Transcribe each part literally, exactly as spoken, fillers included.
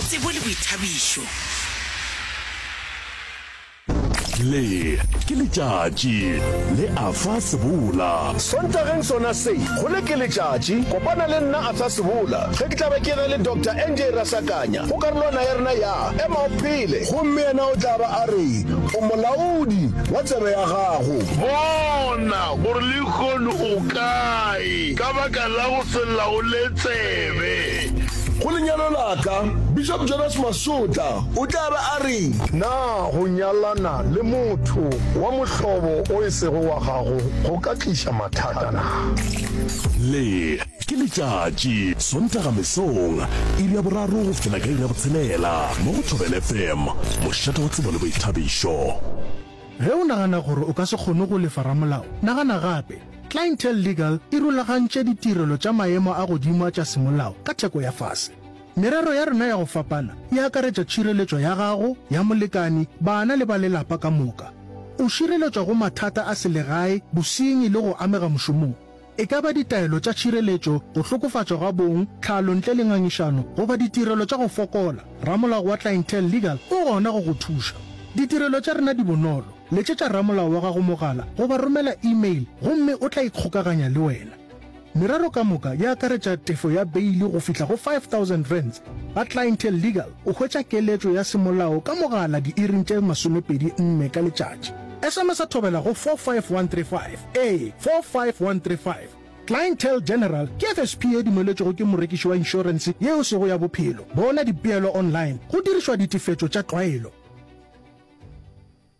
Tsebo le boithabišo. Le ke letšatši le Arthur Sebola. Sontageng sona se, go le ke letšatši, kopana le nna Arthur Sebola ge ke tla be ke na le Doctor N J Rasakanya go karolwana ya rena ya Ema o Phele. Gomme yena o tla ba a re, O molaodi wa tsebe ya gago. Bona gore lehono o kae ka baka la go se laole tsebe. Go lenyalo la ka, Bishop Jonas Masotla o tla ba a re. Na go nyalana le motho wa mohlobo o e sego wa gago go ka tliša mathata na? Le ke letšatši, Sontaga mesong, iri ya boraro go fihlela ka iri ya botshelela, mo go Thobela F M, mošate wa tsebo le boithabišo. Ge o nagana gore o ka se kgone go lefa ramolao, nagana gape. Clientele Legal e rulagantše ditirelo tša maemo a godimo tša semolao ka theko ya fase. Merero ya rena ya go fapana e akaretša tšhireletšo ya gago, ya molekani, bana le ba lelapa ka moka. O šireletšwa go mathata a selegae, bosenyi le go amega mošomong. E ka ba ditaelo tša tšhireletšo, go hlokofatšwa ga bong, tlhalo ntle le ngangišano goba ditirelo tša go fokola, ramolao wa Clientele Legal o gona go go thuša. Ditirelo tša rena di bonolo. Letšetša ramolao wa gago mogala goba romela email gomme o tla ikgokaganya le wena. Merero ka moka e akaretša tefo ya beili go fihla go five thousand rands. Ga Clientele Legal o hwetša keletšo ya semolao ka mogala diiring tše masomepedi nne ka letšatši. S M S a Thobela go four five one three five. Ee, four five one three five. Clientele General ke F S P e dumeletšwego ke morekiši wa inšorense yeo sego ya bophelo. Bona dipeelo online go dirišwa ditefetšo tša tlwaelo.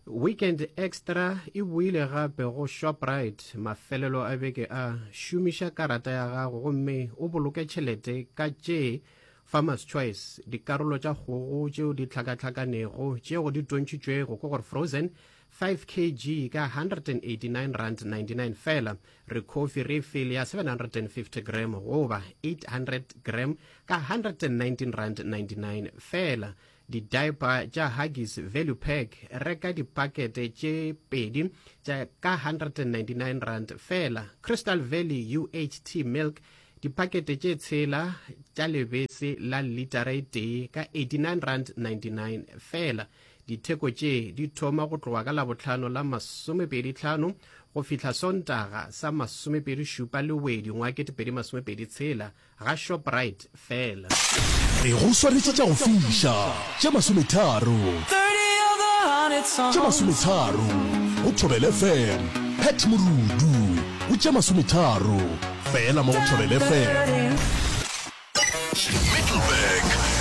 Weekend Extra e boile gape go Shoprite mafelelo a beke a. Šomiša karata ya gago gomme o boloke tšhelete ka tše Farmers Choice dikarolo tša kgogo tšeo di hlakahlakanego tšeo di tontšhitšwego, ke gore frozen, five kilograms ka one hundred eighty-nine rand ninety-nine fela. Ricoffy refill ya seven hundred fifty gram goba eight hundred gram ka one hundred nineteen rand ninety-nine fela. Di-diaper tša Huggies Value Pack, reka dipakete tše pedi tša ka one hundred ninety-nine rand fela. Crystal Valley U H T milk, dipakete tše tshela tša lebese la litara e tee ka eighty-nine rand ninety-nine fela. Ditheko tše di thoma go tloga ka Labohlano la masomepedi tlhano go fihla Sontaga sa masomepedi šupa Lewedi ngwa ketepedi masomepedi tshela ga Shoprite fela. Re go swaretše tša go fiša tše masometharo, tše masometharo go Thobela F M. Pat Morudu go tše masometharo fela mo go Thobela F M. Middelburg.